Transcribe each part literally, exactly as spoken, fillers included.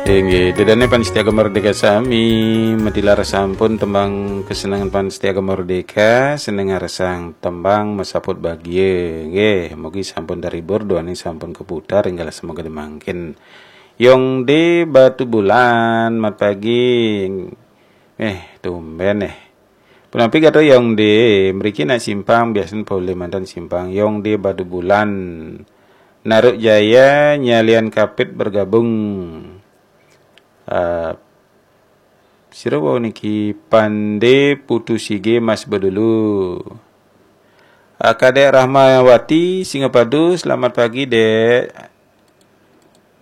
Inggih, dedane Pan Setia Merdeka sami, matilar sampun tembang kesenangan Pan Setia Merdeka, seneng ngarsang tembang masaput bagia. Nggih, mugi sampun terhibur, duaning sampun keputar, enggal semoga demangkin. Yong de Batu Bulan, mat pagi. Eh, tumben eh. Punapi kata Yong de, mriki nak simpang, biasen pole mantan simpang. Yong de Batu Bulan. Naruk Jaya, Nyalian Kapit bergabung. Eh, sira wau niki Pande Putu Sige Mas Bedulu. Ah, Kadek Rahmawati, Singapadu, selamat pagi, Dek.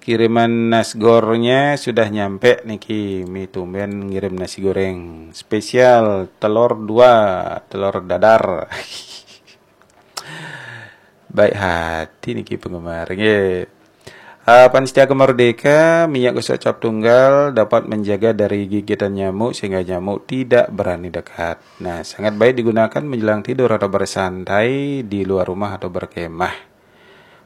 Kiriman nasgornya sudah nyampe niki, mi tumben ngirim nasi goreng spesial telur dua, telur dadar. Baik hati niki penggemar. Nggih. Ah, Pan Setia Merdeka, minyak gosok cap tunggal dapat menjaga dari gigitan nyamuk sehingga nyamuk tidak berani dekat. Nah, sangat baik digunakan menjelang tidur atau bersantai di luar rumah atau berkemah.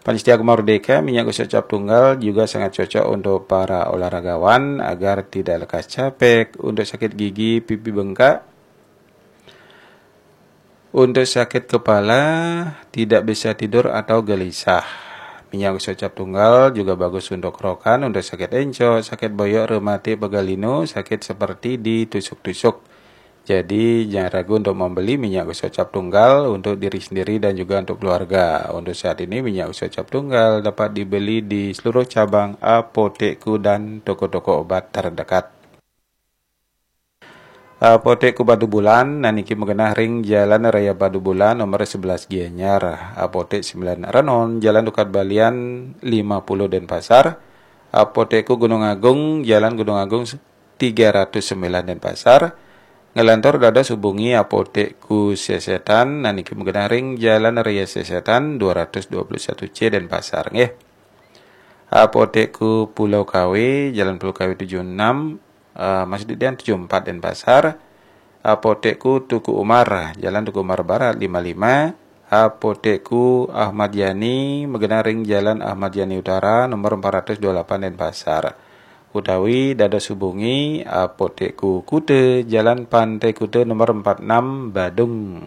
Pan Setia Merdeka, minyak gosok cap tunggal juga sangat cocok untuk para olahragawan agar tidak lekas capek, untuk sakit gigi, pipi bengkak, untuk sakit kepala, tidak bisa tidur atau gelisah. Minyak gosok cap tunggal juga bagus untuk kerokan, untuk sakit encok, sakit boyok, rematik, pegal linu, sakit seperti ditusuk-tusuk. Jadi, jangan ragu untuk membeli minyak gosok cap tunggal untuk diri sendiri dan juga untuk keluarga. Untuk saat ini, minyak gosok cap tunggal dapat dibeli di seluruh cabang Apotekku dan toko-toko obat terdekat. Apotekku Batu Bulan, nah niki magenah ring Jalan Raya Batu Bulan, nomor sebelas Gianyar. Apotek sembilan Renon, Jalan Tukad Balian lima puluh Denpasar. Apotekku Gunung Agung, Jalan Gunung Agung tiga ratus sembilan Denpasar. Nglantur dados hubungi Apotekku Sesetan, nah niki magenah ring Jalan Raya Sesetan dua ratus dua puluh satu C Denpasar, nggih. Apotekku Pulau Kawe, Jalan Pulau Kawe tujuh enam, eh, Mas Didian tujuh empat Denpasar. Apotekku Tuku Umar, Jalan Tuku Umar Barat lima lima. Apotekku Ahmad Yani, magenah ring Jalan Ahmad Yani Utara, nomor empat ratus dua puluh delapan Denpasar. Utawi dados hubungi Apotekku Kuta, Jalan Pantai Kuta, nomor empat enam, Badung.